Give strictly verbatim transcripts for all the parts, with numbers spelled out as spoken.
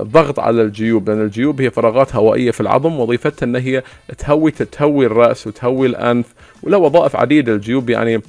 ضغط على الجيوب، لأن الجيوب هي فراغات هوائية في العظم، وظيفتها أن هي تهوي تهوي الرأس وتهوي الأنف، وله وظائف عديدة الجيوب. يعني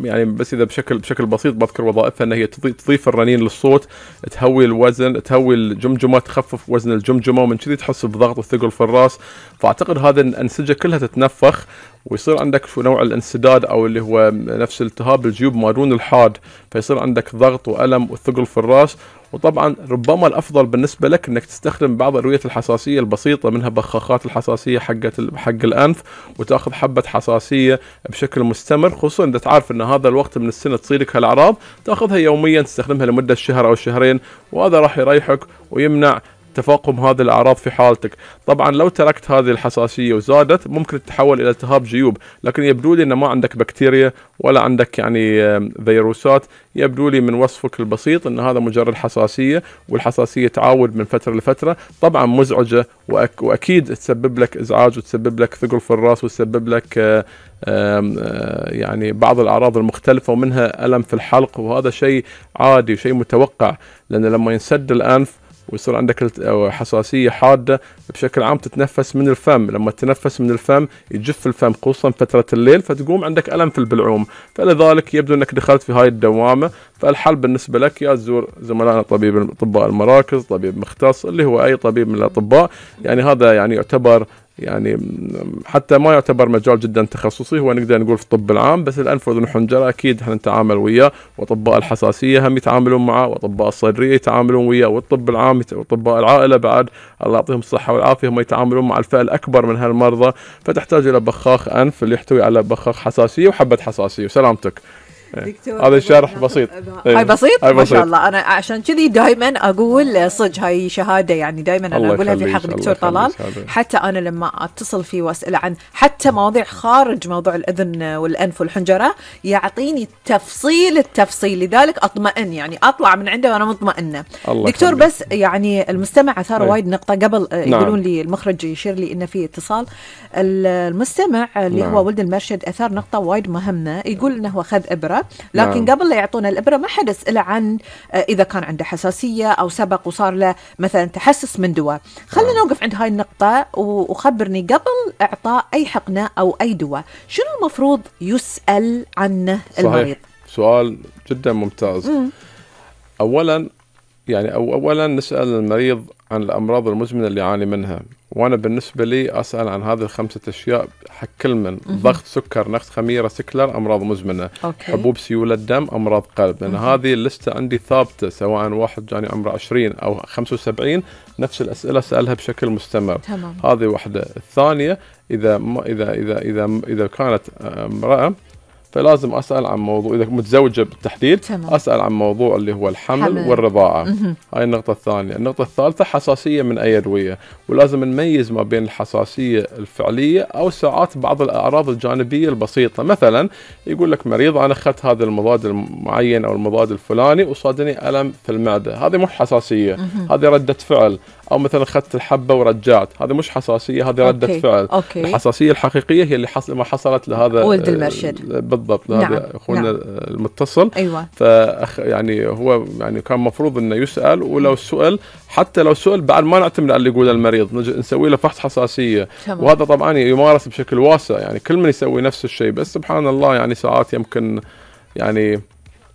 يعني بس إذا بشكل بشكل بسيط بذكر وظائفها أن هي تضيف الرنين للصوت، تهوي الوزن، تهوي الجمجمة، تخفف وزن الجمجمة، ومن كذي تحس بضغط وثقل في الرأس. فأعتقد هذا الأنسجة كلها تتنفخ، ويصير عندك شو نوع الانسداد أو اللي هو نفس التهاب الجيوب ما دون الحاد، فيصير عندك ضغط وألم وثقل في الرأس. وطبعا ربما الأفضل بالنسبة لك أنك تستخدم بعض أدوية الحساسية البسيطة، منها بخاخات الحساسية حقت حق الأنف، وتأخذ حبة حساسية بشكل مستمر، خصوصا إذا تعرف أن هذا الوقت من السنة تصيدك هالأعراض، تأخذها يوميا تستخدمها لمدة شهر أو شهرين، وهذا راح يريحك ويمنع تفاقم هذه الأعراض في حالتك. طبعا لو تركت هذه الحساسية وزادت ممكن تتحول إلى التهاب جيوب، لكن يبدو لي أن ما عندك بكتيريا ولا عندك يعني فيروسات، يبدو لي من وصفك البسيط أن هذا مجرد حساسية، والحساسية تعاود من فترة لفترة، طبعا مزعجة وأك وأكيد تسبب لك إزعاج وتسبب لك ثقل في الرأس وتسبب لك آآ آآ يعني بعض الأعراض المختلفة ومنها ألم في الحلق، وهذا شيء عادي وشيء متوقع، لأن لما ينسد الأنف ويصير عندك حساسية حادة بشكل عام تتنفس من الفم، لما تتنفس من الفم يجف الفم خصوصا فترة الليل، فتقوم عندك ألم في البلعوم. فلذلك يبدو أنك دخلت في هاي الدوامة، فالحل بالنسبة لك يا تزور زملائنا طبيب أطباء المراكز، طبيب مختص اللي هو أي طبيب من الأطباء. يعني هذا يعني يعتبر يعني حتى ما يعتبر مجال جدا تخصصي، هو نقدر نقول في الطب العام، بس الأنف وأذن وحنجرة أكيد احنا نتعامل وياه، وأطباء الحساسية هم يتعاملون معه، وأطباء الصدرية يتعاملون وياه، والطب العام وأطباء العائلة بعد الله يعطيهم الصحة والعافية هم يتعاملون مع الفئة الأكبر من هالمرضى. فتحتاج إلى بخاخ أنف اللي يحتوي على بخاخ حساسية وحبة حساسية وسلامتك. هذا شرح بسيط، هاي بسيط ما شاء الله. أنا عشان كذي دائما أقول صج هاي شهادة، يعني دائما أنا أقولها في حق دكتور طلال، حتى أنا لما أتصل فيه وأسأل عن حتى مواضيع خارج موضوع الأذن والأنف والحنجرة يعطيني تفصيل التفصيل، لذلك أطمئن، يعني أطلع من عنده وأنا مطمئنة. دكتور خليك. بس يعني المستمع أثار وايد نقطة قبل، نعم. يقولون لي المخرج يشير لي إن في اتصال. المستمع اللي نعم. هو ولد المرشد أثار نقطة وايد مهمة، يقول إنه هو خذ إبرة، لكن نعم. قبل لا يعطونا الإبرة ما حد يسأله عن إذا كان عنده حساسية أو سبق وصار له مثلا تحسس من دواء. خلينا نعم. نوقف عند هاي النقطة وخبرني قبل إعطاء أي حقنة أو أي دواء شنو المفروض يسأل عنه المريض؟ صحيح. سؤال جدا ممتاز. م. أولا يعني أو أولا نسأل المريض عن الأمراض المزمنة اللي يعاني منها، وأنا بالنسبة لي أسأل عن هذه الخمسة أشياء حق كل من ضغط، سكر، نقص خميرة، سكلر، أمراض مزمنة، أوكي. حبوب سيولة الدم، أمراض قلب، لأن هذه اللستة عندي ثابتة، سواء واحد جاني عمره عشرين أو خمسة وسبعين نفس الأسئلة سألها بشكل مستمر. تمام. هذه واحدة. الثانية إذا ما إذا إذا إذا إذا كانت امرأة فلازم أسأل عن موضوع، إذا متزوجة بالتحديد تمام. أسأل عن موضوع اللي هو الحمل حمل. والرضاعة. مه. هاي النقطة الثانية. النقطة الثالثة حساسية من أي أدوية، ولازم نميز ما بين الحساسية الفعلية أو ساعات بعض الأعراض الجانبية البسيطة. مثلا يقول لك مريض أنا أخذت هذا المضاد المعين أو المضاد الفلاني وصادني ألم في المعدة، هذه مش حساسية، هذه ردة فعل. أو مثلا أخذت الحبة ورجعت، هذه مش حساسية، هذه ردة أوكي. فعل. أوكي. الحساسية الحقيقية هي اللي حصل ما حصلت لهذا ولد المرشد بالضبط، لهذا نعم. أخونا نعم. المتصل. أيوة. فأخ يعني هو يعني كان مفروض إنه يسأل، ولو سئل حتى لو سئل بعد ما نعتمد على اللي يقوله المريض، نسوي له فحص حساسية. تمام. وهذا طبعا يمارس بشكل واسع، يعني كل من يسوي نفس الشيء، بس سبحان الله يعني ساعات يمكن يعني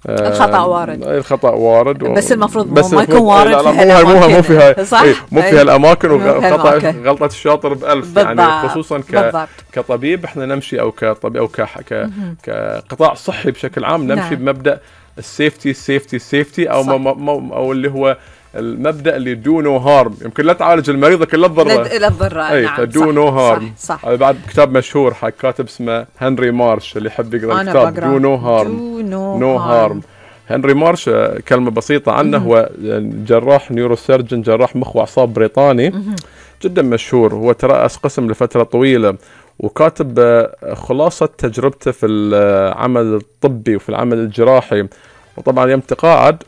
الخطأ وارد. الخطأ وارد و... بس المفروض بس ما يكون وارد لا لا مو مو في هاي صح؟ مو في هالأماكن، وخطأ غلطة الشاطر بألف. بالضبط. يعني خصوصا ك... بالضبط. كطبيب احنا نمشي أو كطبيب أو ك... ك... كقطاع صحي بشكل عام نمشي نعم. بمبدأ السيفتي السيفتي السيفتي أو ما ما أو اللي هو المبدأ اللي دو نو هارم، يمكن لا تعالج المريض لكن لا تضره. لا تضره. اي نعم. دو نو هارم. صح. صح. هذا بعد كتاب مشهور حق كاتب اسمه هنري مارش، اللي يحب يقرأ الكتاب دو نو هارم. نو هارم. هنري مارش كلمة بسيطة عنه، هو جراح نيوروسيرجن، جراح مخ وأعصاب بريطاني جدا مشهور. هو ترأس قسم لفترة طويلة، وكاتب خلاصة تجربته في العمل الطبي وفي العمل الجراحي. وطبعا يوم تقاعد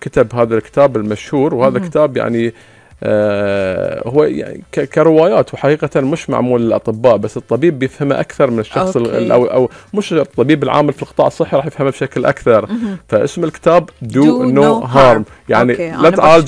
كتب هذا الكتاب المشهور، وهذا كتاب يعني آه هو يعني كروايات، وحقيقة مش معمول للأطباء، بس الطبيب بيفهمه أكثر من الشخص أو, أو مش الطبيب العامل في القطاع الصحي راح يفهمه بشكل أكثر. فاسم الكتاب Do, Do No Harm، يعني لا تعالج